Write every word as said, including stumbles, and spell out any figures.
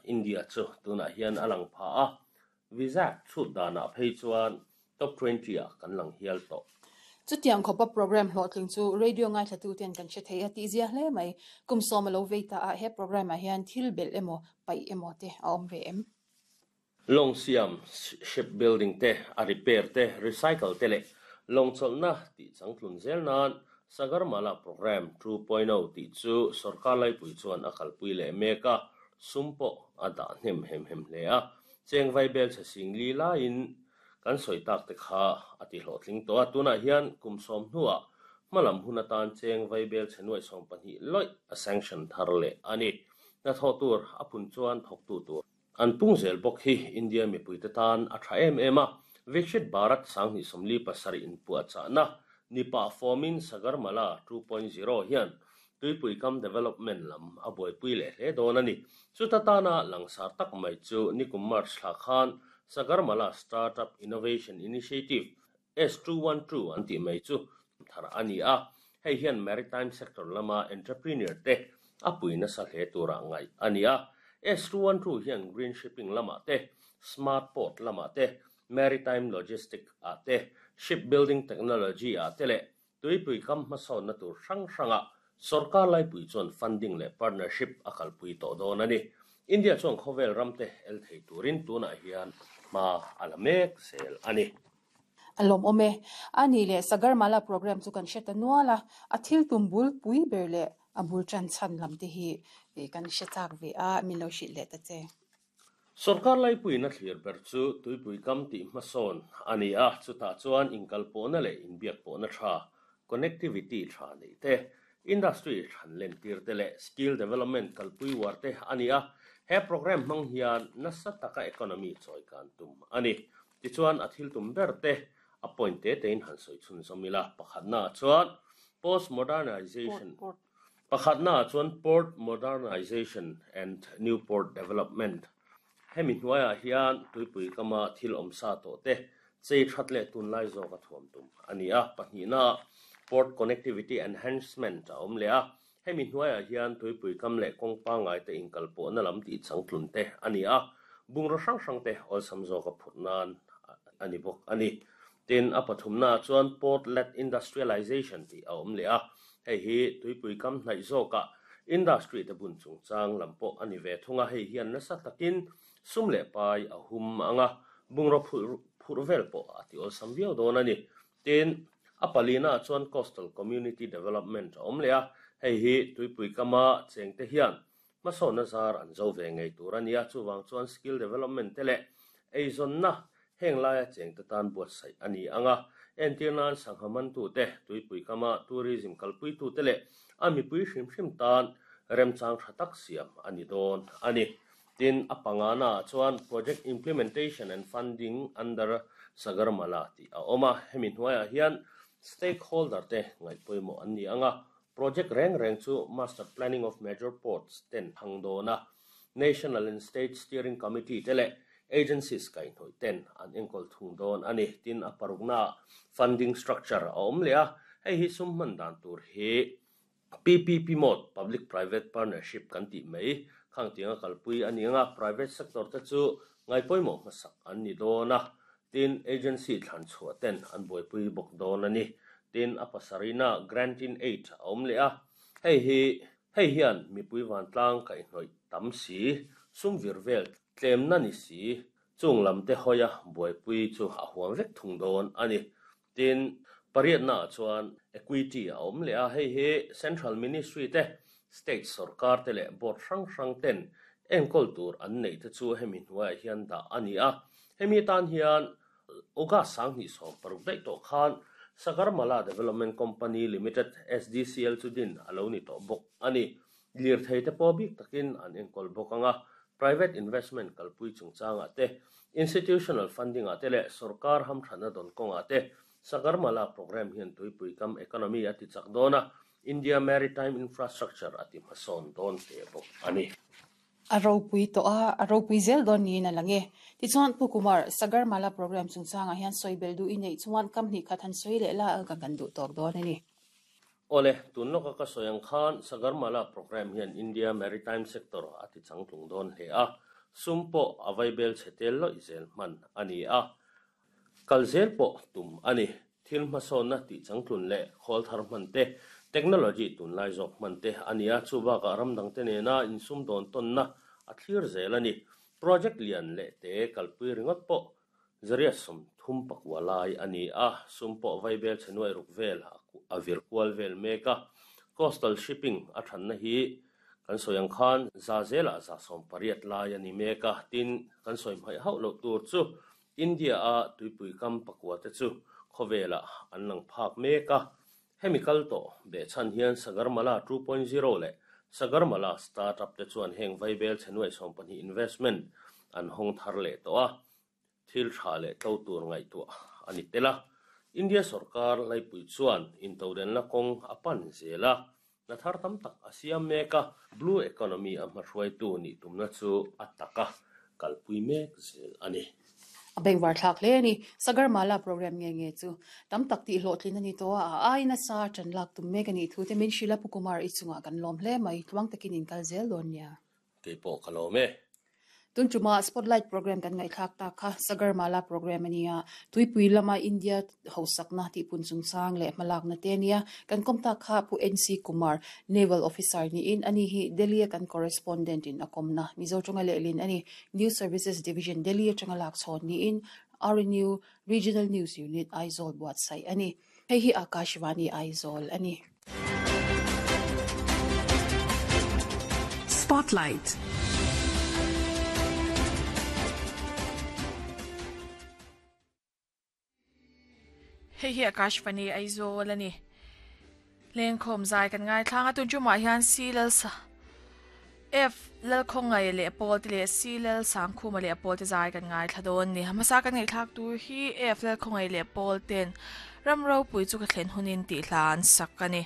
India chu tunah hian a lang pha a, Vizag chhut danah phei chuan top twenty ah kan lang hial tawh. Chutiang khawpa program hlawhtling chu radio ngaithla ten kan hre thei a tih zia hle mai. Kum sawm a lo vei ta a, he program ah hian thil belh emaw paih emaw te a awm ve em? Lawng siam, ship building te, a repair te, recycle te leh lawng chawlhna tih changtlun zel nan Sagarmala Program two point oh tih chu sorkar laipui chuan a kalpui leh mek a, sum pawh a dah hnem hem hem hle a. Cheng vai bel chhe sing li laiin kan sawi tak te kha a ti hlawhtling tawh a, tunah hian kum sawm hnuah hmalam hun atan cheng vai bel chhe nuai sawm pahnih lawih a sanction thar leh a ni. Hnathawh tur a phun chuan thawktu tur an pung zel bawk hi India mipui te tan a tha em em a. Viksit Bharat sanghnih sawmli pasarih inpuahchahna nipa formin Sagarmala two point zero hian tuipui kam development lam a buaipui leh hle dawn a ni. Chuta tana langsar tak mai chu nikum March thla khan Sagarmala Startup Innovation Initiative S two one two an tih mai chu thar a ni a. Hei hian maritime sector lama entrepreneur te a pui nasa hle turah ngaih a ni a. S two one two hian green shipping lamah te, smart port lamah te, maritime logistic ah te, shipbuilding technology ah te leh tuipui kam hmasawnna tur hrang hranga sorkar laipui chuan funding leh partnership a kalpui tawh dawn a ni. India chuan khawvel ram te el thei turin tunah hian hma a la mek zel a ni. A lawm awm e. A ni leh Sagarmala program chu kan hre ta nual a, a thil tum bul pui ber leh a bul ṭan chhan lam te hi kan hre chak ve a, min lo hrilh leh ta che. Sorkar laipuina thlir ber chu tuipui kam tih hmasawn a ni a, chutah chuan inkalpawhna leh inbiakpawhna tha, connectivity tha nei te, industry than len tir te leh skill development kalpui war te a ni a. He program hmang hian nasa taka economy chawi kan tum a ni. Tichuan a thil tum ber te a point te tein han sawi chhun zawm ila. Pakhatna chuan post modernization, Port, port. Pakhatna chuan port modernization and new port development. Hemi hnuaiah hian tuipui kama thil awm sa tawh te chei that leh tunlai zawk a thuam tum a ni a. Pahnihna port connectivity enhancement a awm leh a. Hemi hnuaiah hian tuipui kam leh kawng pangngai te inkalpawhna lam tih changtlun te a ni a. Bungraw hrang hrang te awlsam zawk a phurh nan a ni bawk a ni. Tin, a pathumna chuan port led industrialization tih a awm leh a. Hei hi tuipui kam hnaih zawkah industry te bun chungchang lam pawh a ni ve thung a. Hei hian nasa takin sum leh pai a hum anga, bungraw phurh phurh vel pawh a ti awlsam viau dawn a ni. Tin, a palina chuan coastal community development a awm leh a. Hei hi tuipui kama cheng te hian hmasawnna zar an zo ve ngei tur a ni a. Chuwang chuan skill development te leh eizawnna heng laia cheng te tan buatsaih a ni anga. Entir nan sangha mantu te, tuipui kama tourism kalpui tu te leh a mipui hrim hrim tan remchang tha tak siam a ni dawn a ni. Tin, a pangana chuan project implementation and funding under Sagarmala tih a awm a. Hemi hnuaiah hian stakeholder te ngaih pawimawh an ni anga. Project reng reng chu master planning of major ports ten hang dawn a. National and state steering committee te leh agencies kaihhnawih ten an enkawl thung dawn a ni. Tin, a parukna funding structure a awm leh a. Hei hi sum hman dan tur hi P P P mode, public private partnership kan tih mai khang tianga kalpui a ni anga. Private sector te chu ngai pawimawh hmasak an ni dawn a. Tin, agency thlan chhuah ten an buaipui bawk dawn a ni. Tin, a pasarihna grant in aid a awm leh a. Hei hi hei hian mipui vantlang kaihhnawih tam si, sum vir vel tlemna ni si, chung lam te hawia buaipui chu a huam vek thung dawn a ni. Tin, pariatna chuan equity a awm leh a. Hei hi central ministry te, state sorkar te leh board hrang hrang ten enkawl tur an nei te chu hemi hnuaiah hian dah a ni a. Hemi tan hian August sanghnih sawm paruk daih tawh khan Sagarmala Development Company Limited S D C L chu din a lo ni tawh bawk a ni. Lirthei te pawh bik takin an enkawl bawk anga. Private investment kalpui chungchangah te, institutional funding ah te leh sorkar hamthana dawn kawngah te Sagarmala program hian tuipui kam economy a ti chak dawn a, India maritime infrastructure a ti hmasawn dawn hle bawk a ni. A ropui tawh a, a ropui zel dawn niin a lang e. Tichuan Pu Kumar, Sagarmala program chungchangah hian sawi bel duh i neih chuan kam hnih khat han sawi leh la ka kan duh tawk dawn a ni. Ole, tun lawka ka sawi ang khan Sagarmala program hian India maritime sector a ti changtlung dawn hle a. Sum pawh a vaibel chhe tel lawih zel hman a ni a. Kal zel pawh tum a ni. Thil hmasawnna tih changtlun leh khawl thar hman te, technology tunlai zawk hman te a ni a. Chu bakah ram dang te nena insum dawn tawnna a thlir zel a ni. Project lian leh te kalpui ringawt pawh zariat sawm thum pakua lai a ni a. Sum pawh vaibel chhe nuai ruk vel a vir kual vel mek a. Coastal shipping a thanna hi kan sawi ang khan za zelah za sawm pariat lai a ni mek a. Tin kan sawi hmaih hauh loh tur chu India a tuipui kam pakua te chu khawvelah an lang phak mek a. Hemi kal tawh behchhan hian Sagarmala two point zero leh Sagarmala startup te chuan heng vaibel chhe nuai sawm pahnih investment an hawng thar leh tawh a. Thil tha leh tlo tur ngaihtuah a ni tel a. India sarkar laipui chuan intodenna kawng a pan zel a. Na thar tam tak a siam mek a. Blue economy a hmahruaitu nih tumna chu a tak a kalpui mek zel a ni. A bengvar thlak hle a ni. Sagarmala program nge nge chu tam tak tih hlawhtlin a ni tawh a. A aina sa ṭan lak tum mek a nih thu te min hrilh a Pu Kumar i chungah kan lawm hle mai. Tluang takin in kal zel dawn nia. Keipawh ka lawm e. Tun tuma Spotlight program kan ngaihthlak tak kha Sagarmala program a ni a. Tuipui lama India hosakna tihpun chungchang leh hmalakna te a ni a. Kan kawm tak kha Pu N C Kumar, Naval Officer niin ani hi Delhi a kan correspondent in a kawmna Mizo tanga lehlin a ni. News Services Division Delhi atanga lak chhawn niin R N U Regional News Unit Aizawl buatsaih a ni. Hei hi Akashvani Aizawl a ni. Spotlight. Hei hi Akashvani Aizawl a ni. Lengkhawm zai kan ngaithlang a. Tun tumah hian C lal sa F lal khawngai leh pawl te leh C lal sangkhuma leh pawl te zai kan ngaithla dawn ni. Hmasa kan ngaihthlak tur hi F lal khawngai leh pawl ten ram ropui chu ka thlen hunin tih hla an sak a ni.